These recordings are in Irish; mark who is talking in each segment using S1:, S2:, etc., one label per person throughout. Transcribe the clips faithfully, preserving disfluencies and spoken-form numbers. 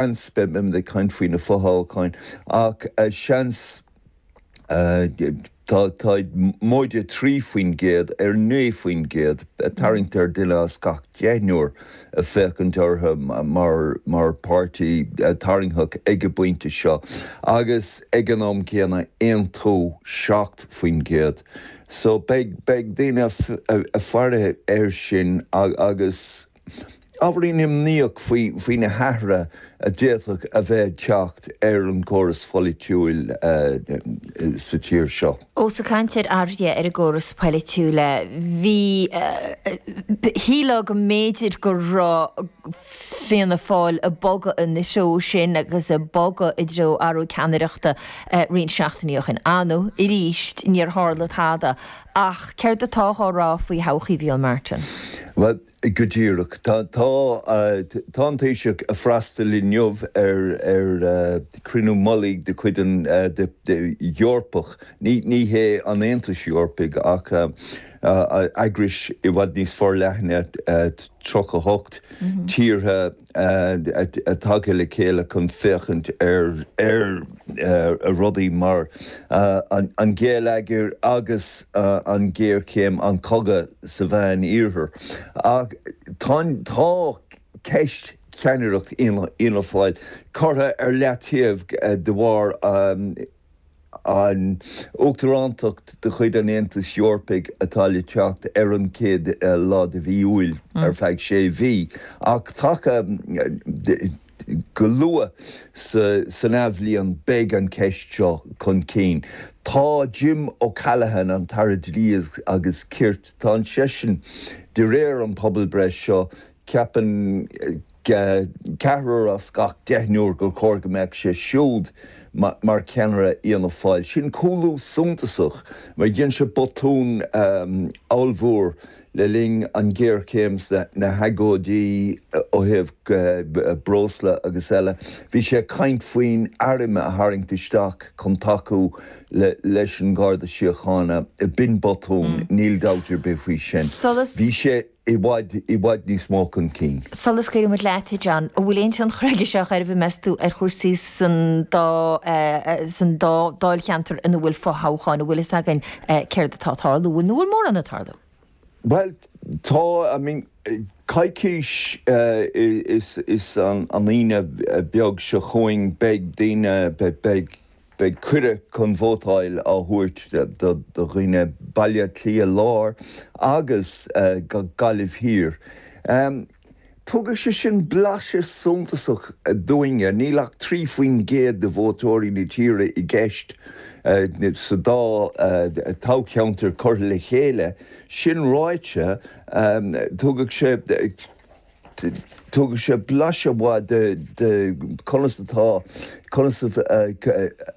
S1: Seans, beimid ag caint faoi na fothoghcháin, ach seans tá tá móide trí faoin gcéad ar naoi faoin gcéad tarraingt ar duine as gach deichniúr ag féachaint orthu mar mar páirtí tarraingteach ag an bpointe seo agus ag an am céanna Aontú seacht faoin gcéad. So beidh beidh daoine ag faire air sin agus ábhairín imníoch faoi faoi na hathruithe a d'fhéadfadh a bheith ag teacht ar an gcóras pholaitiúil sa tír seo.
S2: Ós ag caint ar athruithe ar an gcóras polaitiúil, bhí shílfeá go mb'fhéidir go raibh Fianna Fáil ag bogadh ina threo sin agus ag bogadh i dtreo athrú ceannaireachta roinnt seachtainí ó shin. Ar ndóigh, arís, níor tharla tada. Ach céard atá á rá faoi thodhchaí Mhicheál Martin?
S1: Bhuel, go díreach. Tá tá an Taoiseach ag freastal inniu ar ar cruinniú mullaigh de chuid an Eorpach, ní ní hé an Aontais Eorpaigh ach eagrais i bhfad níos forleithne, tríocha hocht tíortha tagtha le chéile chun féachaint ar ar rudaí mar an geilleagar agus an ghéarchéim, an cogadh sa Mheán Iarthar. Ach tá tá ceist cheannaireacht Fhianna Fáil curtha ar leataobh de bharr an uachtarántacht de chuid an Aontais Eorpaigh atá le teacht ar an chéad lá de mhí Iúil ar feadh sé mhí, ach taca go luath san athbhliain beidh an cheist seo chun cinn. Tá Jim O'Callaghan, an tAire Dlí agus Cirt, tá seisean de réir an pobalbhreith seo, ceapann ceathrar as gach deichniúr gur chóir go mbeadh sé siúd mar cheannaire Fhianna Fáil. Sin cúlú suntasach mar dhein sé botún ollmhór le linn an ghéarchéim na hagóidí ó thaobh breosla agus eile. Bhí sé ag caint faoin arm a tharraingt isteach chun tacú leis an Gharda Síochána. B'in botún, níl dabht ar bith faoi sin. Bhí sé i bhfad i bhfad níos mó chun cinn.
S2: Sula scaoileann muid leat, a John, an bhfuil aon tionchar aige seo ar bith, meas tú, ar chúrsaí san dá san dá dáilcheantar ina bhfuil fothoghcháin, an bhfuil fhios againn céard atá ag tarlú nó an bhfuil mórán ag tarlú?
S1: Bhuel, tá, I mean, coicís is is an Aoine beag seo chugainn beidh daoine beidh beidh cuireadh chun vótáil á thabhairt do dhaoine Baile Átha Cliath Láir agus Gaillimh Thiar. Tugann sé sin blaiseadh suntasach dúinne, níl ach trí faoin gcéad de vótóirí na tíre i gceist sa dá toghcheantar curtha le chéile. Sin ráite, tugann sé Tugann sé blaiseadh mhaith de conas atá conas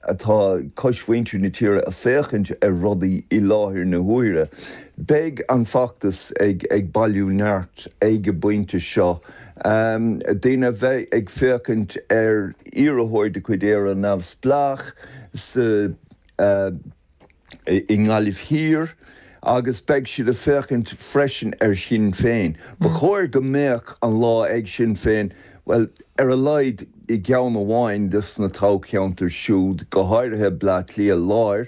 S1: atá cosmhuintir na tíre ag féachaint ar rudaí i láthair na huaire. Beidh an feachtas ag ag bailiú neart ag an bpointe seo. Daoine a bheidh ag féachaint ar iarrthóir de chuid Éire Neamhspleách sa i nGaillimh Thiar agus beidh siad ag féachaint freisin ar Shinn Féin. Ba chóir go mbeadh an lá ag Sinn Féin, bhuel, ar a laghad i gceann amháin de na toghcheantair siúd, go háirithe Bleá Cliath Láir.